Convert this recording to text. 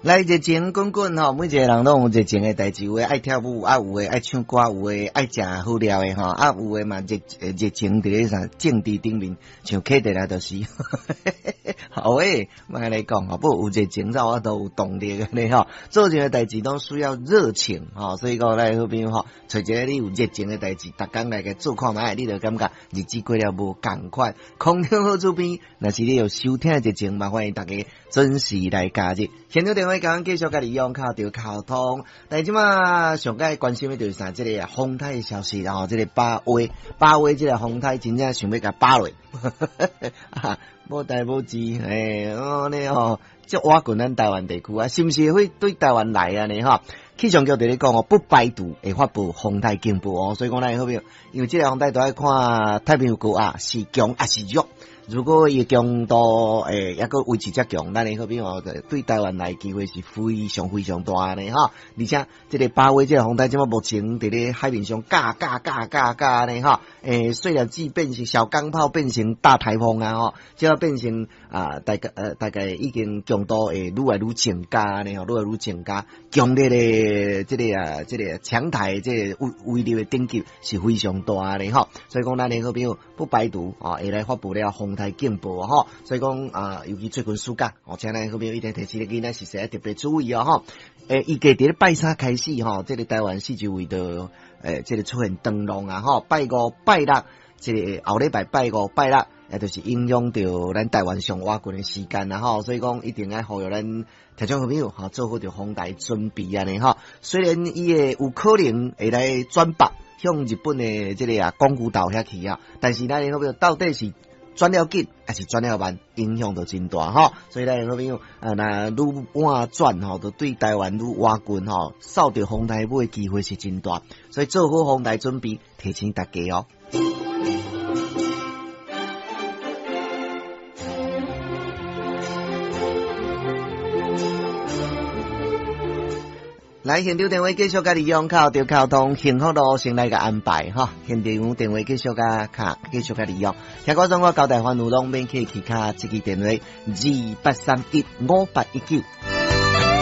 來熱情滾滾吼，每一個人攏有熱情的代誌，有的愛跳舞，啊有的愛唱歌，有的愛食好料的吼，啊有的嘛熱熱情佇咧啥政治頂面，像啟德來就是，好欸，莫按呢講吼，不過有熱情才有法度有動力按呢吼，做任何代誌攏需要熱情吼，所以講咱好朋友吼，揣一个你有熱情的代誌，逐工來共做看覓，你就感覺日子過了無仝款。空中好主編，若是你有收聽熱情，嘛歡迎大家準時來加入。現場電話共阮繼續共你用敲著溝通，但這馬上蓋關心的就是啥？這個風颱的消息，然後這個巴威，巴威這個風颱真正想欲共巴落，無代無誌，欸，哦呢吼，這倚近咱台灣地區啊，是毋是會對台灣來啊呢？吼，氣象局佇咧講哦，不排除會發布風颱警報哦，所以講咱好朋友，因為這個風颱都愛看太平洋高壓是強抑是弱。如果伊強度欸，猶閣維持遮強，咱的好朋友對台灣來機會是非常非常大呢吼。而且這個巴威這個風颱，這馬目前佇咧海面上架架架架架呢吼，欸，細粒子變成小鋼炮變成大颱風啊吼，這變成啊大概大概已經強度會愈來愈增加呢吼，愈來愈增加，強烈的這個啊這個強颱這個威威力的等級是非常大的吼。所以講咱的好朋友不排除啊會來發布了風颱警報吼，所以講啊，尤其最近暑假，哦，請咱好朋友一定提醒囡仔時時愛特別注意哦吼。欸，預計佇咧拜三開始吼，這個台灣四周圍都欸，這個出現長浪啊吼，拜五、拜六，這個後禮拜拜五、拜六，也就是影響著咱台灣上倚近的時間啦吼，所以講一定愛呼籲咱聽眾朋友吼，做好著風台準備按呢吼。雖然伊會有可能會來轉北向日本的這個啊宮古島遐去啊，但是咱好朋友到底是轉了緊還是轉了慢，影響都真大吼。所以咱好朋友啊，若愈晚轉吼，就對台灣愈倚近吼，受著風台尾的機會是真大。所以做好風台準備，提醒大家哦。來，現場電話繼續共你用敲著溝通，幸福路先來共安排哈。現場電話繼續共敲，繼續共你用。聽講說我交代番路攏免客氣，敲這支電話28315819。